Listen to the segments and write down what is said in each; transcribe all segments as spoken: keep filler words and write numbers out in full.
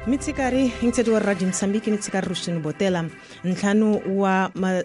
Mitsikari intseto wa Radio Mozambique mitsikari Rushini Botela ntlhanu wa ma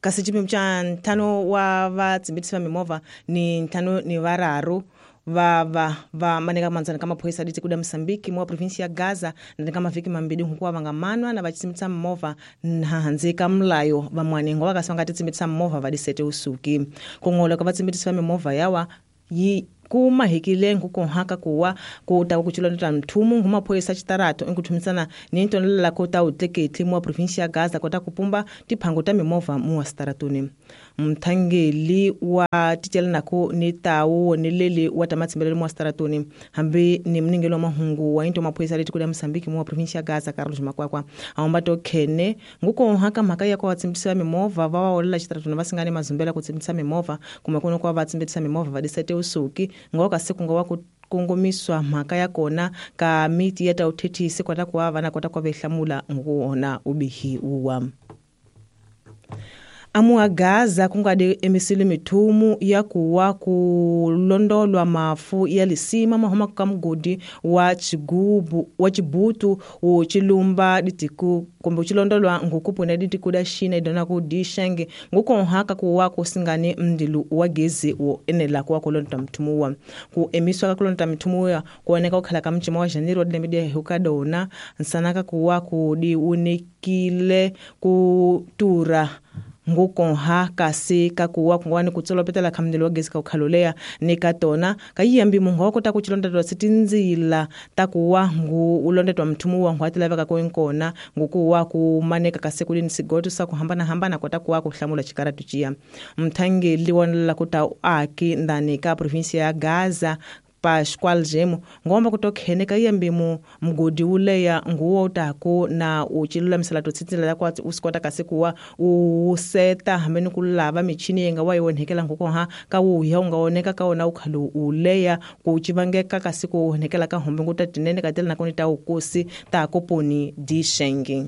kasi xipimo xa ntlhanu wa vatsimbitisi va mimovha ni ntlhanu ni vararu va va va maneka mandzana ka maphorisa ditiko da Mozambique mo province ya Gaza na ka mavhiki mambili hukuwa va nga manwa na va tsimbitisa mimovha handle ka mulayo vamwani ngo va kasi va nga ti tsimbitisa mimovha va disete usuki ku ngola ka vatsimbitisi va mimovha yawa yi kuma hikile nkukonhaka kuwa ku ta ku chilonda mthumu nguma maphorisa xitarato enkuthumisana ni ntolela ko ta utleketli mo province ya Gaza kota ku pumba tiphango ta mimovha mu wa xitaratoni mthangeli wa titelanako ni tawu ni leli wa tamatsimbelelo mu wa xitaratoni hambi ni mningelo wa mahungu wa into maphorisa leti kuda Mozambique mu wa province ya Gaza Carlos Makwakwa ahomba to khene ngukonhaka mhaka ya kwa tsimbisa mimovha va wa olela xitaratoni va singane mazumbela ku tsimbisa mimovha kumbe kuno kwa va tsimbisa mimovha va disete usuki ngoka siku ngowa ku kongomiswa mhaka ya kona ka miti ya ta uthethisi kwata kuwa vana kota kwa behlamula nguwona ubihi uwa amuwa Gaza kungade emisili mithumu ya kuwa kulondolwa mafu ya lisima mahoma ka mugodi wa chigubu wa chibutu wo chilumba ditiku kumbe chilondolwa ngukupuna ditiku da China idona ku dishenge ngukonhaka kuwa kusingane mdilu wa gezi wo enela kuwa kulonda mthumu wa ku emiswa kulonda mthumu ya kuoneka ukhala ka mchimo wa Janeiro dilembe hukadona nsanaka kuwa kudi unikile kutura ngukonha kasi kakuwa kungwani kutsolopetela khamndelo wa gezi ka ukhalolea ni katona kayiyambi munhu wa kota ku chilondetwa sitinzila takuwa ngu ulondetwa mthumu wa ngwati laveka ko inkona ngukuwa ku maneka kasi kulini sigoto sa kuhambana hambana kota kuwa ku hlamula chikaratu chiya mthangeli wanela kuta aki ndani ka province ya Gaza Pascual Jemo ngomba kutokhene kayiyambi mu mugodi uleya nguwo utako na uchilulamisela totsitsila kwa usikota kasi kuwa useta hamene kulava michini yenga wayonhekela ngukoha ka wuya ungaoneka kaona ukhalo uleya kuchivangeka kasi kuonekela ka hombe ngutatinene katela nakoni ta ukusi ta koponi dishenge.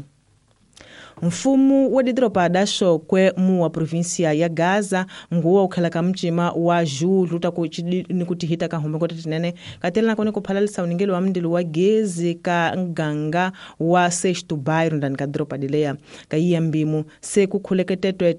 Mfumo wa didropa da Shokwe mu wa provinsia ya Gaza nguwa ukhala ka mchima wa Julu ta ku ni kutihita ka hombe ngotatinene katela nakoni kuphalalisa uningelo wa mndilo wa gezi ka nganga wa Sexto Bairro ndani ka dropa dileya ka yiyambimu se kukhuleketetwe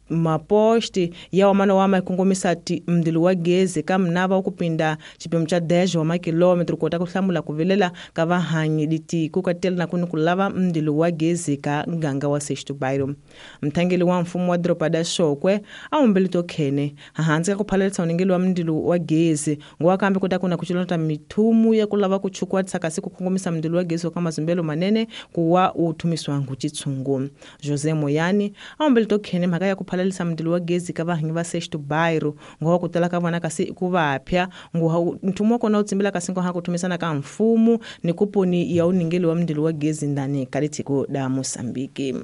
maposti ya wamana wa makongomisa ti mndilo wa gezi ka mnava ukupinda chipimo cha dez wa makilometro kota kuhlamula kuvelela ka vahanyi ditiko katela na kuni kulava mndilo wa gezi ka nganga wa Sexto Bairro. Mthangeli wa mfumo wa dropa da Shokwe awumbele to khene hansi ka kuphalalisa uningelo wa mndilo wa gezi ngowa kambe kota kuna kuchilota mithumu ya kulava kuchukwa tsaka siku kongomisa mndilo wa gezi ka mazumbelo manene kuwa uthumiswa nguchitsungu. Jose Moyani awumbele to khene mhaka ya kuphalalisa mndilo wa gezi ka vahanyi va Sexto Bairro ngowa kutala ka vona kasi ku vapya ngowa nthumo wa kona utsimbela kasi ngo ha kuthumisana ka mfumo ni kuponi ya uningelo wa mndilo wa gezi ndani ka litiko da Mozambique.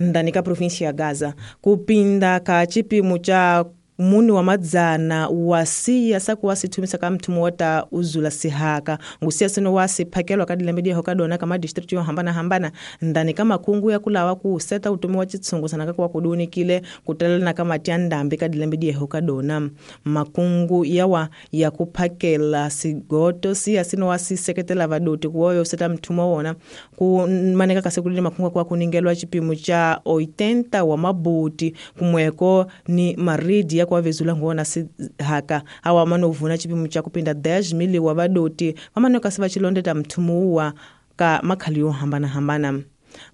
Ndani ka provinsi ya Gaza kupinda ka chipimo cha muni wa madzana wasiya sakuwa sithumisa ka mthumu wata uzula sihaka ngusiya sino wasiphakelwa ka dilembe diho kadona ka madistrict yo hambana hambana ndani ka makungu ya kulawa ku seta utomi wa chitsungu sana ka kuwa kudunikile kutelana ka mati ya ndambi ka dilembe diho kadona makungu yawa ya kuphakela sigoto siya sino wasiseketela vadoti kuwa seta mthumu wona ku maneka kasekulile makungu kwa kuningelwa chipimo cha oitenta wa mabuti kumweko ni maridi ya kwa vezula ngona sihaka awa manovuna chipimo cha kupinda dez mili wa vadoti vamanoka siva chilondeta mthumu wa ka makhali yo hambana hambana.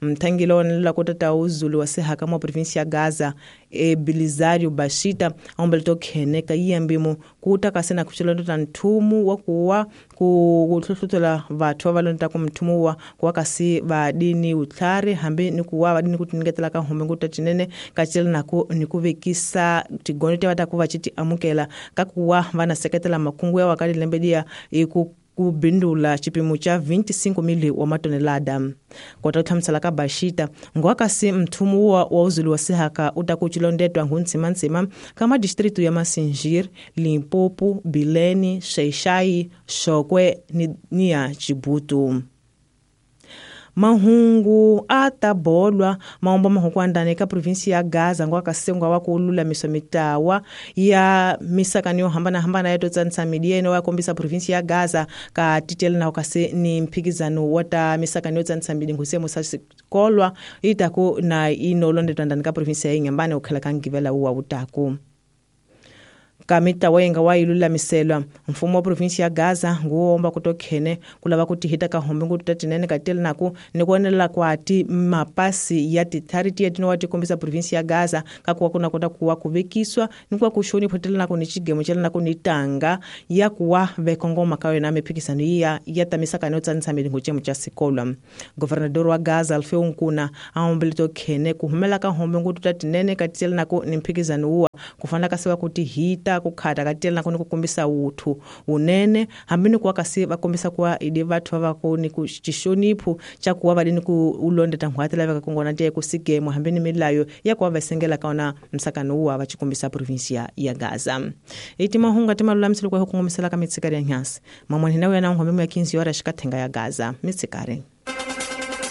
Mthangelo la kotata uzulu wa sihaka mwa provinsi ya Gaza e Bilizario Bashita ombelto khene ka yiyambimo kuta kasena kuchilondota nthumu wa kuwa kuhluhlutela vathu va lonta ku mthumu wa kuwa kasi vadini utlhari hambi ni kuwa vadini kutiniketela ka hombe ngutatinene kachela nako ni kuvekisa tigoni te va ta ku va chiti amukela ka kuwa vana seketela makungu ya wakali lembedia iku kubindula chipimo cha vinte e cinco mil wa matonelada. Kota utlhamusela ka Bashita ngowa kasi mthumu wa, wa uzulu wa sihaka utakuchilondetwa nguntsimantsima ka madistritu ya Massingir, Limpopo, Bilene, Xai-Xai, Shokwe ni, ni ya Chibutu. Mahungu a ta bolwa maomba mahukwandani ka provinsi ya Gaza ngwa kasengwa wa ku lulamisa mitawa ya misakani yo hambana hambana ya totsanisa midieno wa kombisa provinsi ya Gaza ka titela na kasi ni mphikizano wa ta misakani yo tsanisa midi ngusemo sa sikolwa itaku na inolondetwa ndani ka provinsi ya Inhambane ukhala ka ngivela uwa utaku. Kamita wayenga wa ilulamiselwa mfumo wa provinsi ya Gaza nguomba kutokhene kulava kutihita ka hombe ngutu tatinene katela naku nikuonela kwati mapasi ya tithariti yatino watikombisa provinsi ya Gaza kakuwa kuna kota kuwa kuvekiswa nikuwa kushoni photela naku ni chigemo chela naku ni tanga ya kuwa vekongoma kawe na miphikisano iya ya tamisa kana tsanisa milingo chemo cha sikolwa. Governador wa Gaza Alfeu Nkuna aombele tokhene kuhumela ka hombe ngutu tatinene katela naku ni mphikisano uwa kufana kasiwa kutihita kukhata katela nako ni kukombisa uthu unene hambi ni kuwa kasi vakombisa kuwa idi vathu va ni ku xixoniphu xa kuwa vali ni ku ulondeta nghwati laveka kongona tiya ku sigemo hambi ni milayo ya kuwa vasengela ka ona msakano uwa va xikombisa provinsia ya Gaza. Iti mahungu ti malulamiselo kwa ku kongomisela ka mitsikari ya nyasi mamwani na wena nghombe ya quinze horas xikathenga ya Gaza mitsikari.